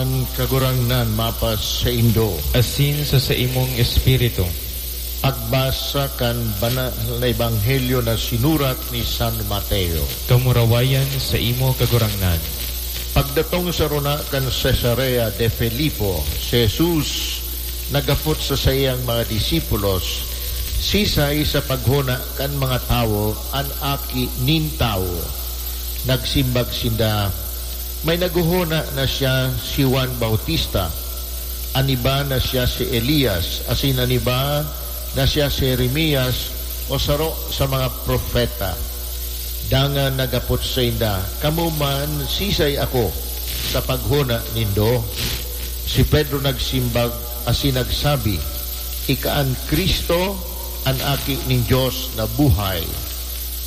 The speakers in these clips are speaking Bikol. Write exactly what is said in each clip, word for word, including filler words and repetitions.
An Kagurangnan mapasaindo. Asin sa saimong espiritu. Pagbasa kan Banal na Ebanghelyo na sinurat ni San Mateo. Kamurawayan saimo, Kagurangnan. Pagdatong sa rona kan Cesarea de Filipo, si Jesus naghapot sa saiyang mga disipulos, "Sisay sa paghona kan mga tawo an Aki nin Tawo?" Nagsimbag sinda, "May naghohona na siya si Juan Bautista, an iba na siya si Elias, asin an iba na siya si Jeremias o saro sa mga propeta." Dangan naghapot sainda, "Kamo man, sisay ako sa paghona nindo?" Si Pedro nagsimbag asin nagsabi, "Ika an Cristo, an Aki nin Dios na buhay."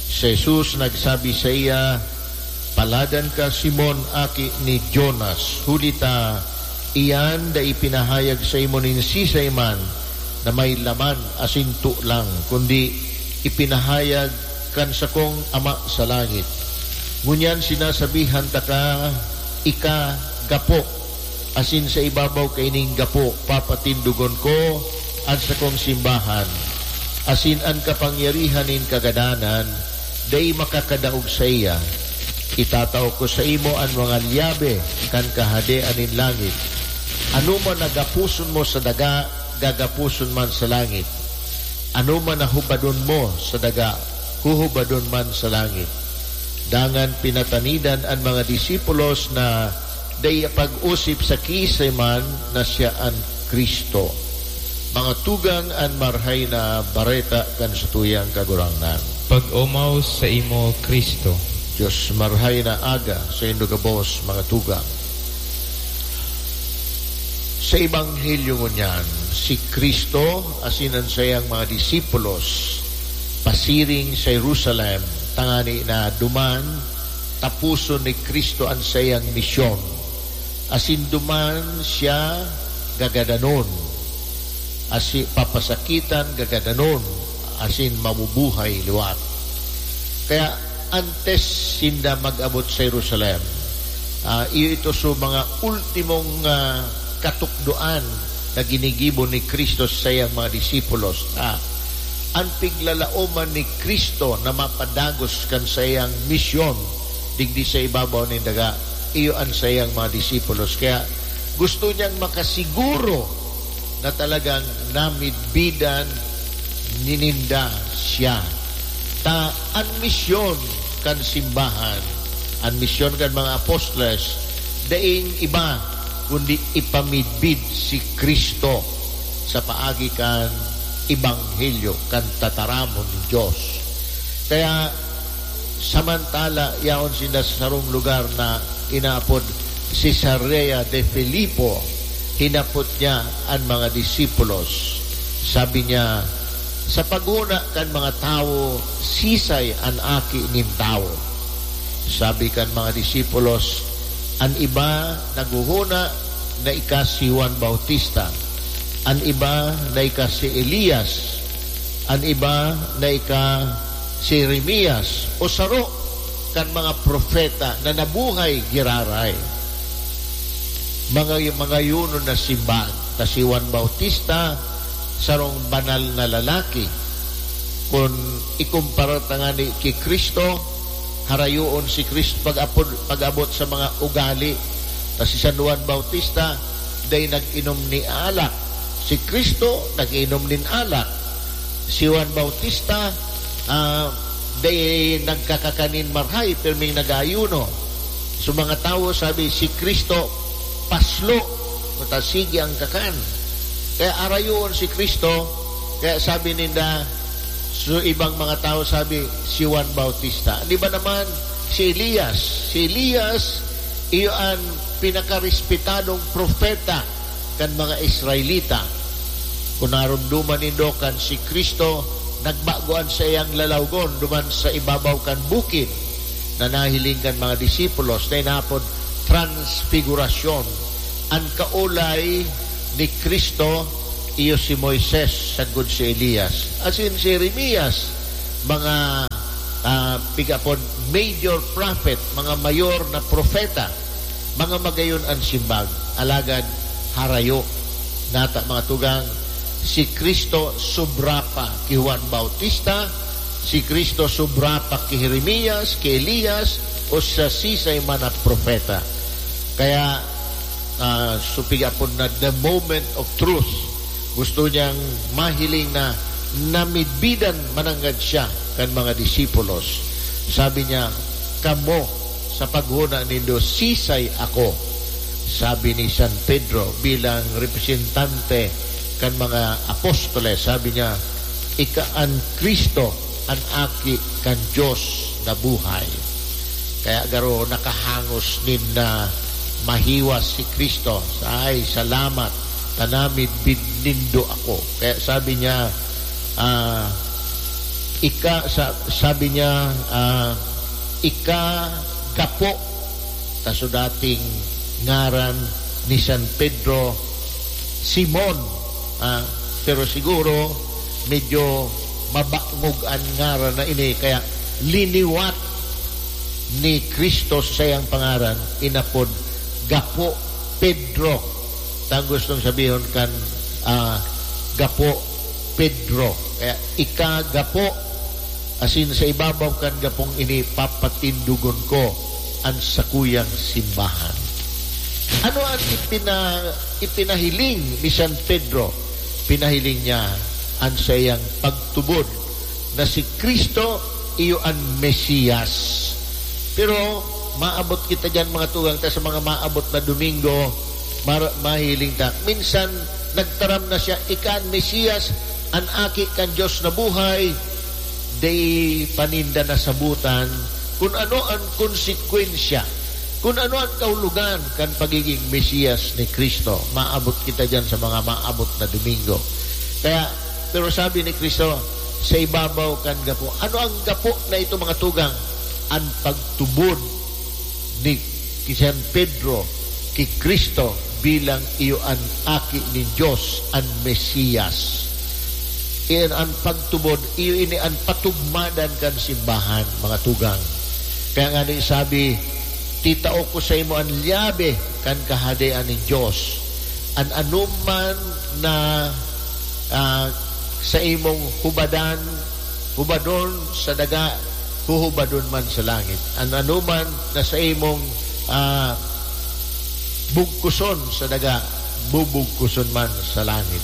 Si Jesus nagsabi saiya, "Paladan ka, Simon, aki ni Jonas, huli ta iyan dai ipinahayag saimo nin sisay man na may laman asin tolang, kundi ipinahayag kan sakong Ama sa langit. Ngunyan sinasabihan taka, ika gapo, asin sa ibabaw kaining gapo papatindogon ko an sakong simbahan, asin an kapangyarihan nin kagadanan dai makakadaog saiya. Itatao ko saimo an mga lyabe kan Kahadean nin langit. Anoman na gaposon mo sa daga, gagaposon man sa langit. Anoman na hubadon mo sa daga, huhubadon man sa langit." Dangan pinatanidan an mga disipulos na dai pag-osip sa kiisay man na siya an Cristo. Mga tugang, an Marahay na Bareta kan satuyang Kagurangnan. Pag-omaw saimo, Cristo. Dios, marahay na aga saindo gabos, mga tugang. Sa Ebanghelyo ngunyan, si Cristo asin an saiyang mga disipulos pasiring sa Jerusalem, tangani na duman taposon ni Cristo an saiyang misyon, asin duman siya gagadanon, asi-, papasakitan, gagadanon, asin mabubuhay liwat. Kaya antes sinda mag-abot sa Jerusalem, ah, iyo ito so mga ultimong, ah, katukdoan na ginigibo ni Cristo sa saiyang mga disipulos. Ah, an piglalaoman ni Cristo na mapadagos kan saiyang misyon digdi sa ibabaw nin daga, iyo an saiyang mga disipulos. Kaya gusto niyang makasiguro na talagang namidbidan nininda siya. Ta an misyon kan simbahan, an misyon kan mga apostoles, daing iba kundi ipamidbid si Cristo sa paagi kan ebanghelyo kan tataramon nin Dios. Kaya samantala yaon sinda sa sarong lugar na inaapod Cesarea de Filipo, hinapot niya an mga disipulos. Sabi niya, "Sa paghona kan mga tawo, sisay an Aki nin Tawo?" Sabi kan mga disipulos, "An iba naghohona na ika si Juan Bautista, an iba na ika si Elias, an iba na ika si Jeremias o saro kan mga propeta na nabuhay giraray." Mga, mga yunon na simbag, ta si Juan Bautista, sarong banal na lalaki. Kun ikumpara ta ngani ki Cristo, harayoon si Cristo pag-apod, pag-abot sa mga ugali. Ta si San Juan Bautista, dai nag-inom ni alak. Si Cristo, nag-inom nin alak. Si Juan Bautista, ah, dai nagkakakanin marhay, pirming nag-aayuno. So, mga tawo sabi, "Si Cristo, paslo, kuta sige ang kakan." Kaya arayoon si Cristo, kaya sabi ninda, so, ibang mga tawo sabi, "Si Juan Bautista." Di ba naman, si Elias? Si Elias, iyo an pinakarespetadong propeta kan mga Israelita. Kun naromdoman nindo, kan si Cristo, nagbago an saiyang lalawgon duman sa ibabaw kan bukid na nahiling kan mga disipulos na inapod Transfigurasyon. An kaolay ni Cristo, iyo si Moises, sagkod si Elias, asin si Jeremias, mga, ah, pigapon major prophet, mga mayor na propeta. Mga magayon an simbag, alagad harayo. Nata, mga tugang, si Cristo sobra pa ki Juan Bautista, si Cristo sobra pa ki Jeremias, ki Elias, o sa sisay man na propeta. Kaya, ah, supig apod na the moment of truth, gusto niyang mahiling na namidbidan mananggad siya kan mga disipulos. Sabi niya, "Kamo, sa paghona nindo, sisay ako?" Sabi ni San Pedro bilang representante kan mga apostoles, sabi niya, "Ika an Cristo, an Aki kan Dios na buhay." Kaya garo nakahangos nin na mahiwas si Cristo. "Ay, salamat, ta namidbid nindo ako." Kaya sabi niya, ah, ika, sa-, sabi niya, ah, "Ika gapo." Ta so dating ngaran ni San Pedro, Simon. Ah, pero siguro medyo mabangog an ngaran na ini, kaya liniwat ni Cristo sa saiyang pangaran, inapod Gapo Pedro. Ta an gustong sabihon kan, ah, Gapo Pedro. Kaya, "Ika gapo, asin sa ibabaw kan gapong ini papatindogon ko an sakuyang simbahan." Ano an ipina-, ipinahiling ni San Pedro? Pinahiling niya an saiyang pagtubod na si Cristo iyo an Mesias. Pero maabot kita diyan, mga tugang, ta sa mga maabot na Domingo, mar-, mahiling ta. Minsan, nagtaram na siya, "Ika an Mesias, an Aki kan Dios na buhay." Dai pa ninda nasabotan kun ano an konsekwensya, kun ano an kahulogan kan pagigin Mesiyas ni Cristo. Maabot kita diyan sa mga maabot na Domingo. Kaya, pero sabi ni Cristo, "Sa ibabaw kan gapo." Ano ang gapo na ito, mga tugang? An pagtubod ni, ki San Pedro ki Cristo bilang iyo an Aki nin Dios, an Mesiyas. Iyan an pagtubod, iyo ini an patugmadan kan simbahan, mga tugang. Kaya nga ni sabi, "Titao ko sa imo an lyabe kan Kahadean nin Dios. An anoman na, ah, sa imong hubadan, hubadon sa daga, huhubadon man sa langit. An anoman na sa imong, ah, bugkuson sa daga, bubugkuson man sa langit."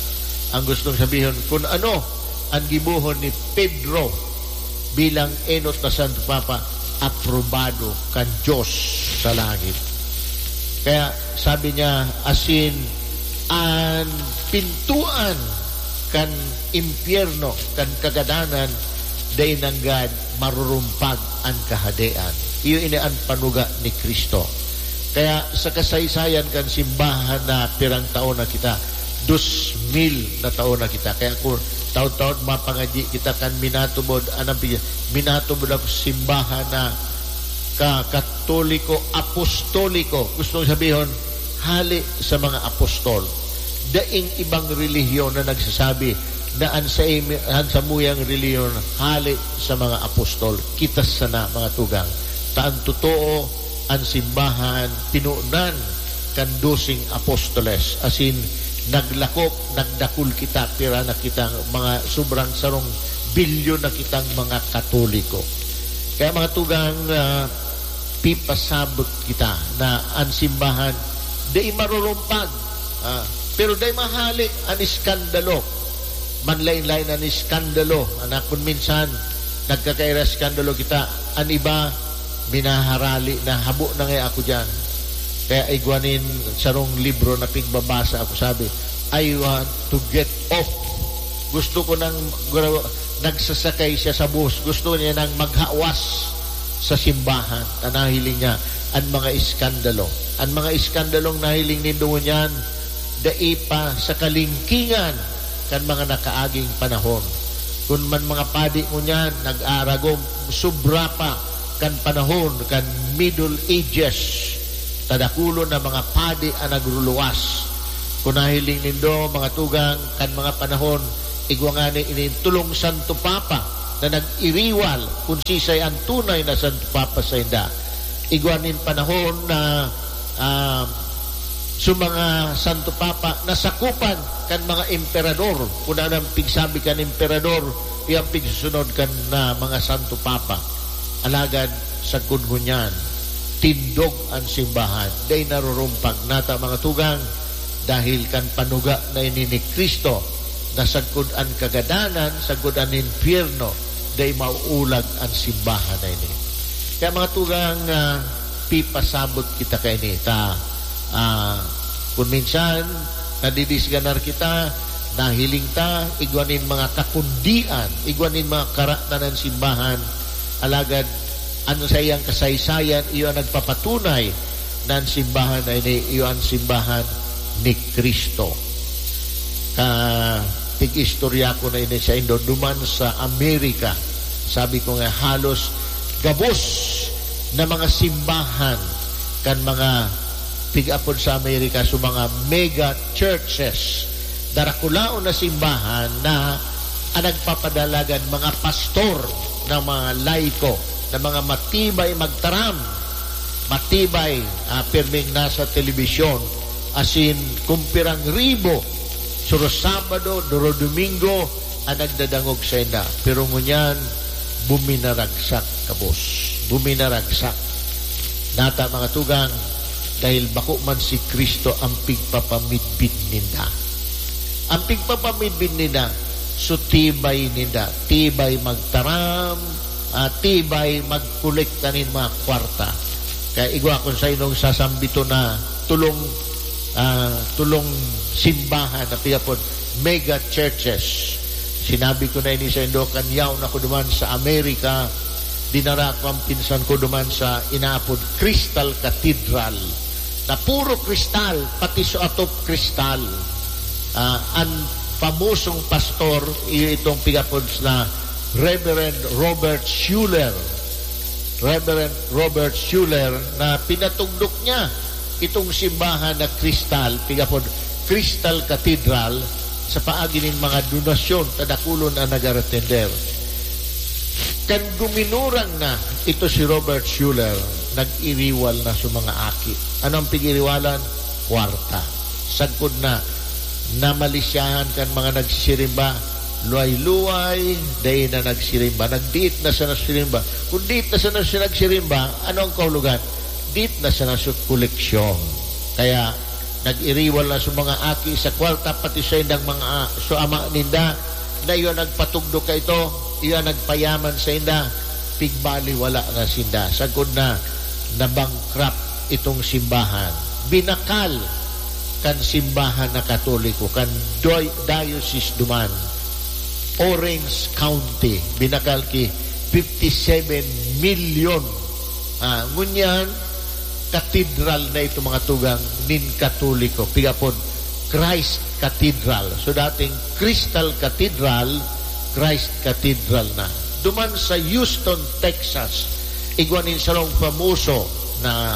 Ang gustong sabihon, kun ano an gibohon ni Pedro bilang enot na Santo Papa, aprobado kan Dios sa langit. Kaya sabi niya, asin an pintuan kan impyerno, kan kagadanan, dai nanggad marurumpag an Kahadean. Iyo ini an panuga ni Cristo. Kaya sa kasaysayan kan simbahan na pirang taon na kita, dos mil na taon na kita. Kaya kung taon-taon mapangadyi kita kan minatubod, anong pi-, minatubod ako simbahan na ka-, Katoliko, Apostoliko. Gustong sabihon, hali sa mga apostol. Daing ibang relihiyon na nagsasabi na an sa imi-, an samuyang relihiyon hali sa mga apostol. Kita sana, mga tugang. Ta an totoo, an simbahan, pinunan kan doseng apostoles. Asin, naglakop, nagdakul kita, pira na kitang mga sobrang sarong bilyon na kitang mga Katoliko. Kaya, mga tugang, ah, pipasabot kita na an simbahan dai marurumpag, ah, pero dai mahali an iskandalo. Manlain-lain an iskandalo. An akon minsan, nagkakaira iskandalo kita. An iba, minaharali na, habo na nga ako diyan. Kaya igwa nin sarong libro na pigbabasa ako, sabi, "I want to get off." Gusto ko nang gra-, nagsasakay siya sa bus. Gusto niya nang maghawas sa simbahan. Ta nahiling niya an mga iskandalo. An mga iskandalong nahiling nindo ngunyan, dai pa sa kalingkingan kan mga nakaaging panahon. Kun man mga padi ngunyan, nag-aaragom, sobra pa kan panahon kan Middle Ages. Ta dakulon na mga padi an nagruluwas. Kun nahiling nindo, mga tugang, kan mga panahon, igwa ngani ining tolong Santo Papa na nag-iriwal kun sisay an tunay na Santo Papa sainda. Igwa nin panahon na ah, sa mga Santo Papa, nasakupan kan mga emperador. Kun ano ang pigsabi kan emperador, iyo ang pigsusunod kan, ah, mga Santo Papa. Alagad, sagkod ngunyan, tindog an simbahan. Dai narurumpag. Nata, mga tugang, dahil kan panuga na ini ni Cristo, na sagkod an kagadanan, sagkod an impyerno, dai mauulag an simbahan na ini. Kaya, mga tugang, ah, pipasabot kita kaini. Ta, ah, kun minsan, nadidisganar kita, nahiling ta, igwa nin mga kakundian, igwa nin mga karatan an simbahan, alagad an saiyang kasaysayan, iyo an nagpapatunay na an simbahan na ini, iyo an simbahan ni Cristo. Ka-, tig-istorya ko na ini saindo, duman sa Amerika. Sabi ko nga, halos gabos na mga simbahan kan mga pig-apod sa Amerika, so mga mega churches, darakulaon na simbahan na ang nagpapadalagan mga pastor na mga laiko, na mga matibay magtaram, matibay, ah, pirming nasa telebisyon, asin kun pirang ribo, suro Sabado, duro Domingo, ang nagdadangog sainda. Pero ngunyan, buminaragsak, kabos. Buminaragsak. Nata, mga tugang, dahil bako man si Cristo ang pigpapamidbid ninda. Ang pigpapamidbid ninda, so tibay ninda, tibay magtaram, ah, tibay magkolekta nin mga kwarta. Kaya igwa kun sainong sasambiton na tulong, ah, tulong simbahan na pigapon mega churches. Sinabi ko na ini saindo, kan yaon ako duman sa Amerika, dinara ko ang pinsan ko duman sa inaapod Crystal Cathedral, na puro kristal, pati sa atop kristal. Ah, an famosong pastor, iyo itong pigapod na Reverend Robert Schuller. Reverend Robert Schuller, na pinatugdok niya itong simbahan na kristal, pigapod Crystal Cathedral, sa paagi nin mga donasyon, kadakulon an nag-aratender. Kan guminurang na ito si Robert Schuller, nag-iriwal na sa mga aki. Ano ang pig-iriwalan? Kwarta. Sagkod na, namalisyahan kan mga nagsisirimba, luway-luway, dai na nagsirimba. Nagdiit na sana sirimba. Kung diit na sana siya nagsirimba, ano ang kahulogan? Diit na sana sa koleksyon. Kaya, nag-iriwal na sa mga aki sa kwarta, pati saindang mga, ah, sa ama ninda, na iyo nagpatugdok kaito, iyo nagpayaman sainda, pigbaliwala na sinda. Sagkod na, na-bankrupt itong simbahan. Binakal kan simbahan na Katoliko, kan doy-, diocese duman, Orange County, binakal ki fifty-seven million. Ah, ngunyan, katedral na ito, mga tugang, nin Katoliko. Pigapod, Christ Cathedral. So, dating Crystal Cathedral, Christ Cathedral na. Duman sa Houston, Texas, igwa nin sarong famoso na,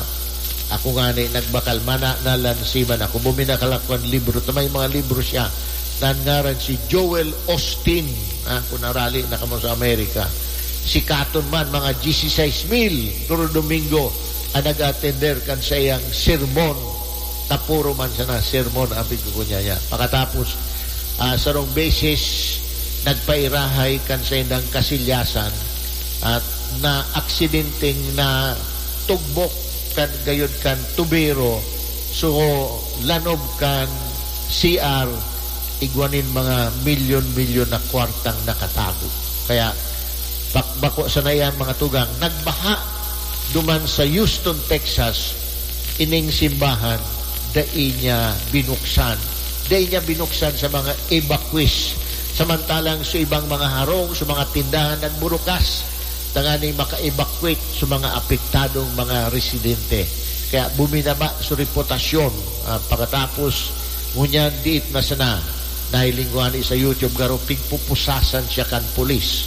ako ngani, nagbakal, mana-, nalansiman ako. Buminakal ako kan libro. Ta may mga libro siya. Nan ngaran si Joel Osteen. Ah, kung narali na kamo sa Amerika. Sikaton man, mga dieciséis mil, duro Domingo, ang nag-atender kan saiyang sermon. Tapuro man sana sermon ang pigkukunya niya. Pakatapos, ah, sarong beses, nagpairahay kan saindang kasilyasan at na aksidenteng na tugbok kan gayod kan tubero, so lanob kan C R, igwa nin mga milyon-milyon na kwartang nakatago. Kaya, bak-, bako sana iyan, mga tugang, nagbaha duman sa Houston, Texas, ining simbahan, dai niya binuksan. Dai niya binuksan sa mga evacuees. Samantalang sa ibang mga harong, sa mga tindahan, nagburukas tanganing maka-evacuate sa mga apektadong mga residente. Kaya buminaba sa reputasyon, ah, pakatapos, ngunyan diit na sana, nahiling ko ani sa YouTube, garo pigpupusasan siya kan pulis.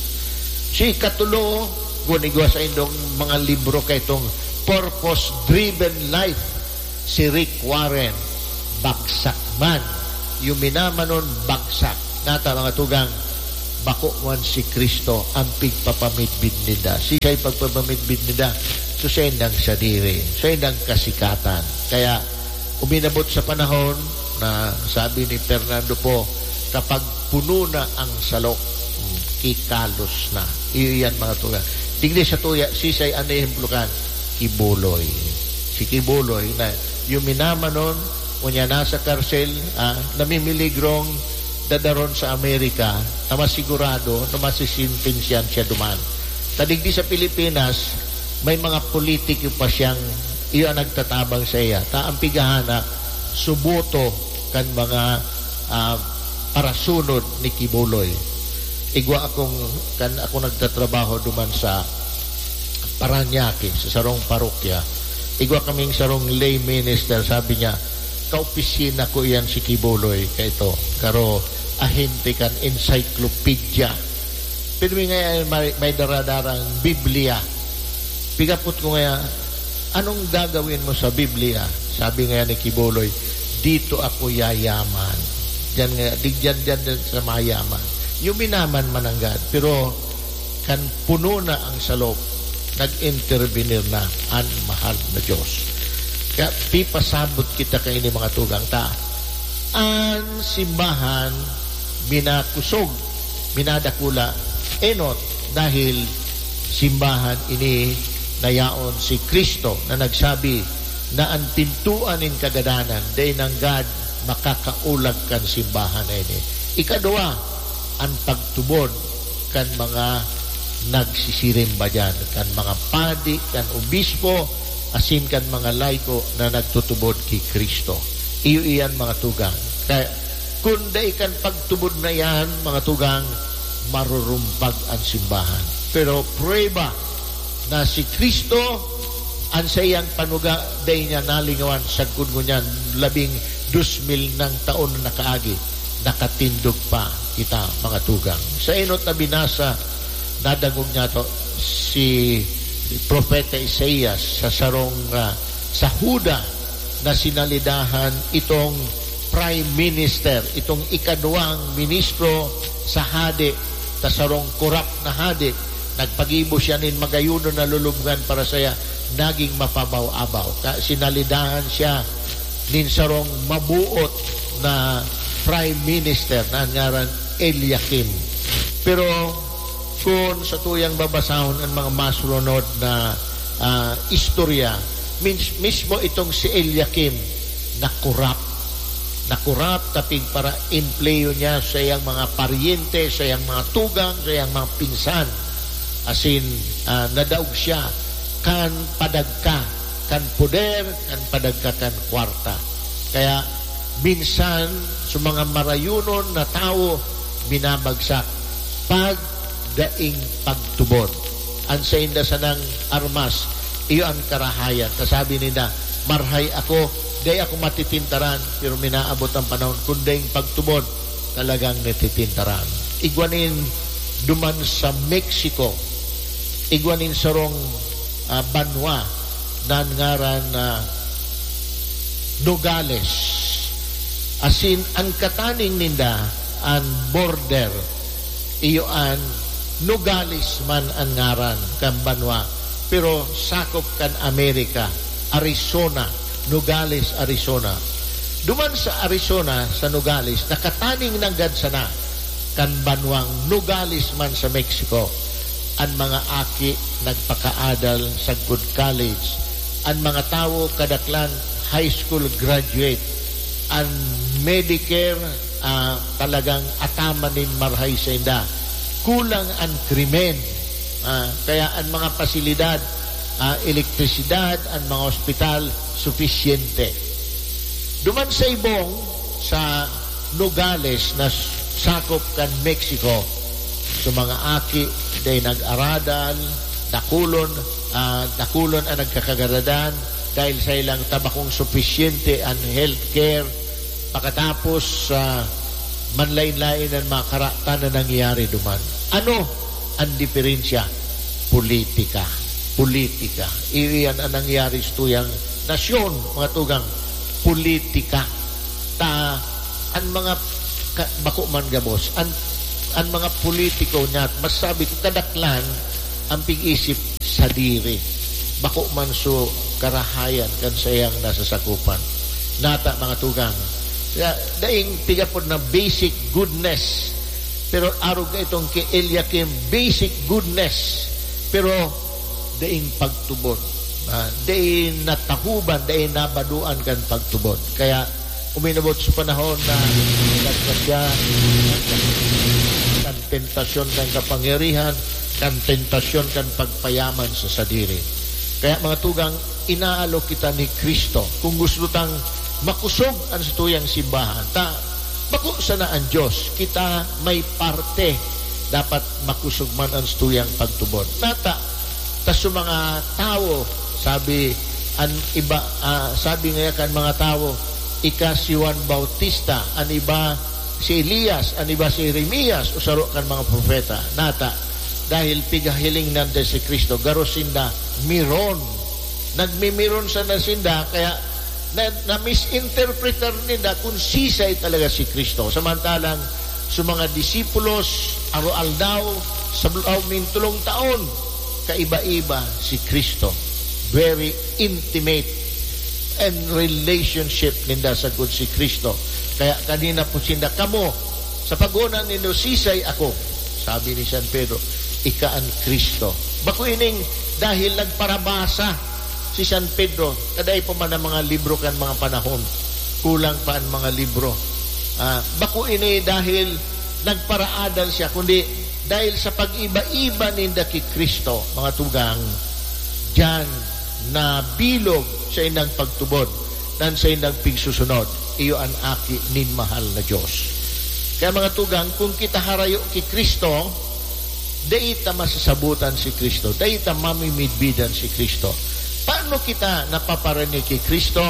Si ikatulo, kun igwa saindong mga libro kaitong Purpose Driven Life, si Rick Warren, bagsak man. Yuminamanon, bagsak. Nata, mga tugang, bako man si Cristo ang pigpapamidbid ninda. Siisay pagpapamidbid ninda? So, saindang sadiri, saindang kasikatan. Kaya uminabot sa panahon na sabi ni Fernando Poe, "Kapag puno na ang salok, mm, kikalos na." Iyo yan, mga tugang. Tigdi sa tuya, sisay an ehemplo kan? Kibuloy. Si Kibuloy na yuminamanon, unya nasa karsel, ah, namimiligrong dadaron sa Amerika na masigurado na masisintensyahan siya duman. Kadigdi sa Pilipinas, may mga politiko pa siyang iyo an nagtatabang saiya. Ta ang pigahanak, suboto kan mga, ah, parasunod ni Kibuloy. Igwa akong, kan ako nagtatrabaho duman sa Parañaque, sa sarong parokya. Igwa kaming sarong lay minister, sabi niya, "Kaopisina ko iyan si Kibuloy, kaito, karo ahente kan encyclopedia." Pero may, may, may daradarang Biblia. Pigapot ko ngaya, "Anong gagawin mo sa Biblia?" Sabi ngaya ni Kibuloy, "Dito ako yayaman." Diyan nga, di diyan, diyan, diyan sa mayaman. Yuminaman man nanggad, pero kan puno na ang salop, nag-intervenir na an mahal na Diyos. Kaya pipasabot kita kaini, mga tugang, ta an simbahan minakusog, minadakula, enot, dahil simbahan ini na yaon si Cristo na nagsabi na an pintoan nin kagadanan dai nanggad makakaulag kan simbahan na ini. Ikadua, an pagtubod kan mga nagsisirimba diyan, kan mga padi, kan obispo, asin kan mga laiko na nagtutubod ki Cristo. Iyo iyan, mga tugang. Kaya, kun dai kan pagtubod na iyan, mga tugang, marurumpag an simbahan. Pero prueba na si Cristo, an saiyang panuga, dai niya nalingawan, sagkod ngunyan, labing dos mil nang taon na nakaagi, nakatindog pa kita, mga tugang. Sa enot na binasa, nadangog niyato si Propeta Isaias sa sarong, ah, sa Juda na sinalidahan itong prime minister, itong ikaduwang ministro sa hade, sa sarong korap na hade. Nagpagibo siya nin magayunon na lulubngan para saya, naging mapabaw-abaw. Ka-, sinalidahan siya nin sarong mabuot na prime minister na an ngaran Eliakim. Pero kun sa tuyang babasahon an mga masulunod na, ah, istorya, mins-, mismo itong si Eliakim nakurap. Nakurap ta pigpara-empleyo niya sa iyang mga paryente, sa iyang mga tugang, sa iyang mga pinsan. Asin, ah, nadaog siya kan padagka, kan poder, kan padagka, kan kwarta. Kaya, minsan, sa mga marayunon na tawo, binabagsak pag daing pagtubod. An sainda sanang armas, iyo an karahayan. Kasabi ninda, "Marhay ako, dai ako matitintaran," pero minaabot an panahon, kun daing pagtubod, talagang natitintaran. Igwa nin duman sa Mexico, igwa nin sarong, ah, banwa na an ngaran na Nogales. Asin, an kataning ninda, an border, iyo an Nogales man an ngaran kan banwa, pero sakop kan Amerika, Arizona, Nogales, Arizona. Duman sa Arizona, sa Nogales, nakataning nanggad sana kan banwang Nogales man sa Mexico. An mga aki nagpakaadal sagkod college. An mga tawo, kadaklan, high school graduate. An Medicare, ah, talagang ataman nin marhay sainda. Kulang an krimen. Ah, kaya an mga pasilidad, ah, elektrisidad, an mga ospital, sufisyente. Duman sa ibong, sa Nogales na sakop kan Mexico, so mga aki, dai nag-aradal, dakulon, ah, dakulon an nagkakagaradan dahil sa ilang tabakong sufisyente an healthcare. Pakatapos, ah, manlain-lain an mga karatan na nangyayari duman. Ano an diferensya? Politika. Politika. Iyan an nangyayari sa tuyang nasyon, mga tugang. Politika. Ta, an mga ka-, bako man gabos, an, an mga politiko niya, masabi ko, kadaklan, an pig-isip sadiri. Bako man so karahayan kan saiyang nasasakopan. Nata, mga tugang. Kaya, daing pigapod na basic goodness. Pero arog ka itong ki Eliakim, basic goodness. Pero daing pagtubod. Ah, daing natahuban, daing nabadoan kan pagtubod. Kaya, uminabot sa panahon na nagkasya kan tentasyon kan kapangyarihan, kan tentasyon kan pagpayaman sa sadiri. Kaya, mga tugang, inaalok kita ni Cristo. Kung gusto tang makosog an satuyang simbahan, ta bako sana an Dios, kita may parte, dapat makosog man an satuyang pagtubod. Nata, ta sa mga tawo, sabi an iba, ah, sabi ngaya kan mga tawo, "Ika si Juan Bautista, an iba si Elias, an iba si Jeremias, o saro kan mga propeta." Nata, dahil pigahiling nanda si Cristo, garo sinda miron. Nagmimiron sana sinda, kaya na, na-misinterpretar ninda kung sisay talaga si Cristo. Samantalang sa mga disipulos, aroaldaw, sa loob nin tolong taon, kaiba-iba si Cristo. Very intimate and relationship ninda sagkod si Cristo. Kaya kanina po sinda, "Kamo, sa pagona nindo, sisay ako?" Sabi ni San Pedro, "Ika an Cristo." Bako ining dahil nagparabasa si San Pedro, kadai pa man ang mga libro kan mga panahon, kulang pa ang mga libro. Ah, bako ini dahil nagparaadan siya, kundi dahil sa pag-iba-iba ninda ki Cristo, mga tugang, diyan nabilog sa indang pagtubod, nan sa indang pigsusunod, iyo an Aki nin mahal na Dios. Kaya, mga tugang, kung kita harayo ki Cristo, dai ta masasabotan si Cristo, dai ta mamimidbidan si Cristo. Paano kita napaparinig ki Cristo?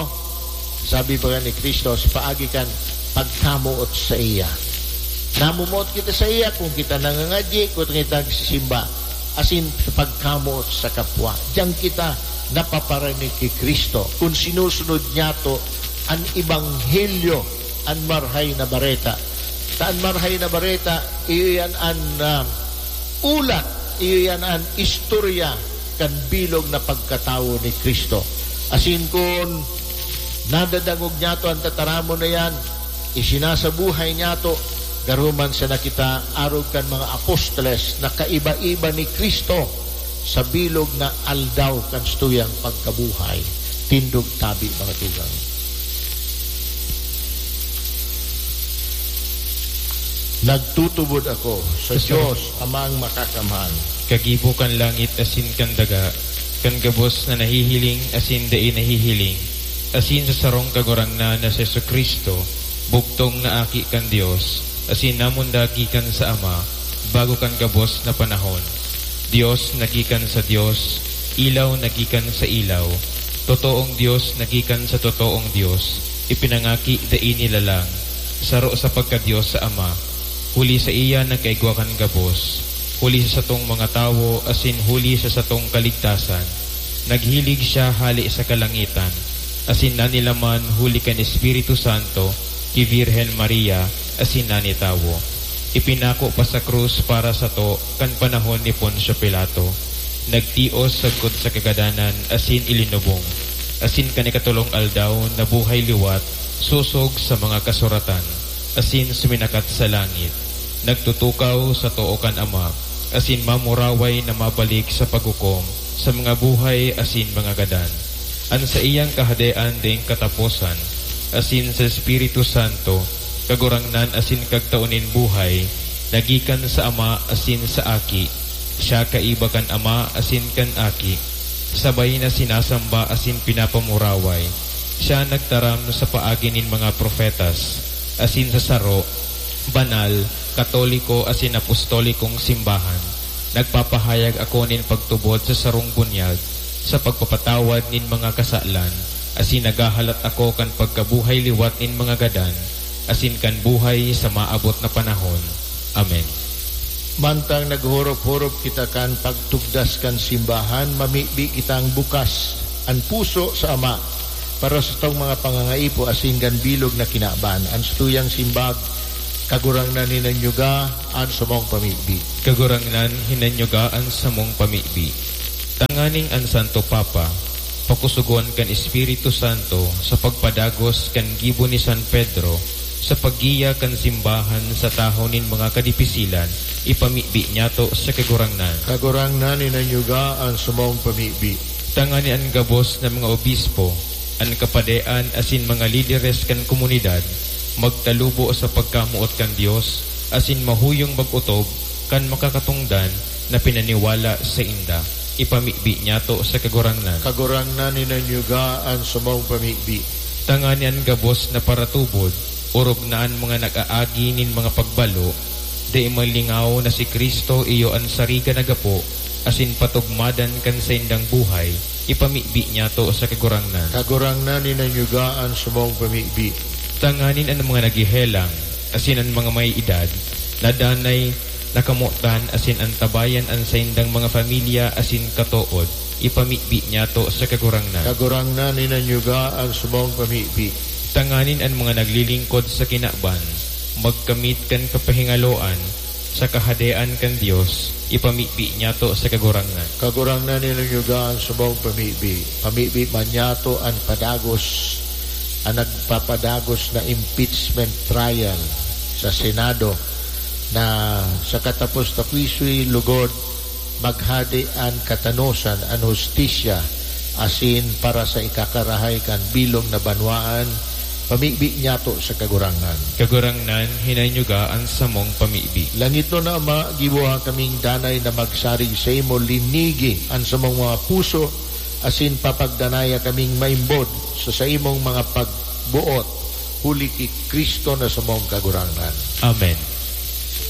Sabi baga ni Cristo, sa paagi kan pagkamoot saiya. Namomoot kita saiya kung kita nangangadyi, kung kita nagsisimba, asin sa pagkamoot sa kapwa. Diyan kita napaparinig ki Cristo, kung sinusunod niyato an ebanghelyo, an Marahay na Bareta. Ta an Marahay na Bareta, iyo yan an, ah, ulat, iyo yan an istorya kan bilog na pagkatawo ni Cristo. Asin kun nadadangog niyato an tataramon na yan, isinasabuhay niyato, garo man sana kita arog kan mga apostoles na kaiba-iba ni Cristo sa bilog na aldaw kan satuyang pagkabuhay. Tindog tabi, mga tugang. Nagtutubod ako sa Sa Dios Amang Makakamhan. Kagibo kan langit asin kan daga, kan gabos na nahihiling asin dai nahihiling, asin sa sarong Kagurangnan na si Jesu-Cristo, bugtong na Aki kan Dios, asin namundag gikan sa Ama, bago kan gabos na panahon. Dios na gikan sa Dios, ilaw na gikan sa ilaw, totoong Dios na gikan sa totoong Dios, ipinangaki dai nilalang, saro sa pagka-Dios sa Ama, huli saiya nagkaigwa kan gabos, huli sa satong mga tawo asin huli sa satong kaligtasan, naghilig siya hale sa kalangitan, asin nanilaman huli kan Espiritu Santo ki Virgen Maria asin nanitawo. Ipinako pa sa krus para sato kan panahon ni Poncio Pilato. Nagtios sagkod sa kagadanan asin ilinubong, asin kan ikatolong aldaw nabuhay liwat sosog sa mga kasuratan, asin suminakat sa langit. Nagtutukaw sa too kan Ama, asin mamuraway na mabalik sa paghukom sa mga buhay asin mga gadan. An saiyang Kahadean daing kataposan, asin sa Espiritu Santo, Kagurangnan asin Kagtao nin buhay, na gikan sa Ama asin sa Aki. Siya kaiba kan Ama asin kan Aki, sabay na sinasamba asin pinapamuraway. Siya nagtaram sa paagi nin mga propetas, asin sa saro, banal, katoliko asin apostolikong simbahan. Nagpapahayag ako nin pagtubod sa sarong bunyag, sa pagpapatawad nin mga kasalan, asin naghahalat ako kan pagkabuhay liwat nin mga gadan, asin kan buhay sa maabot na panahon. Amen. Mantang naghorop-horop kita kan pagtugdas kan simbahan, mamibi kitang bukas an puso sa Ama para sa satong mga pangangaipo asin kan bilog na kinaban. An satuyang simbag, Kagurangnan, hinanyuga an samong pamibi. Kagurangnan, hinanyuga an samong pamibi. Tanganing an Santo Papa pakusugon kan Espiritu Santo sa pagpadagos kan gibo ni San Pedro sa paggiya kan simbahan sa tahaw nin mga kadipisilan, ipamibi niyato sa Kagurangnan. Kagurangnan, inanyuga an samong pamibi. Tanganing an gabos na mga obispo, an kapadean asin mga lideres kan komunidad magtalubo sa pagkamoot kan Dios asin mahuyong mag-otob kan makakatongdan na pinaniwala sainda. Ipamibi niyato sa Kagurangnan. Kagurangnan, inanyuga an samong pamibi. Tanganing an gabos na paratubod, orog na an mga nag-aagi nin mga pagbalo, dai malingaw na si Cristo iyo an sariga na gapo asin patugmadan kan saindang buhay, ipamibi niyato sa Kagurangnan. Kagurangnan, inanyuga an samong pamibi. Tanganing an mga naghehelang asin an mga may edad, na danay nakamotan asin antabayan an saindang mga pamilya asin katood, ipamibi niyato sa Kagurangnan. Kagurangnan, inanyuga an samong pamibi. Tanganing an mga naglilingkod sa kinaban magkamit kan kapahingaloan sa Kahadean kan Dios, ipamibi niyato sa Kagurangnan. Kagurangnan, inanyuga an samong pamibi. Pamibi man niyato an padagos, an nagpapadagos na impeachment trial sa Senado, na sa katapos-taposoy lugod maghade an katanosan, an hustisya, asin para sa ikakarahay kan bilog na banwaan, pamibi niyato sa Kagurangnan. Kagurangnan, hinanyuga an samong pamibi. Langitnon na Ama, giboha kaming danay na magsarig saimo, linigi an samong mga puso, asin papagdanaya kaming maimbod sa saimong mga pagboot, huli ki Cristo na samong Kagurangnan. Amen.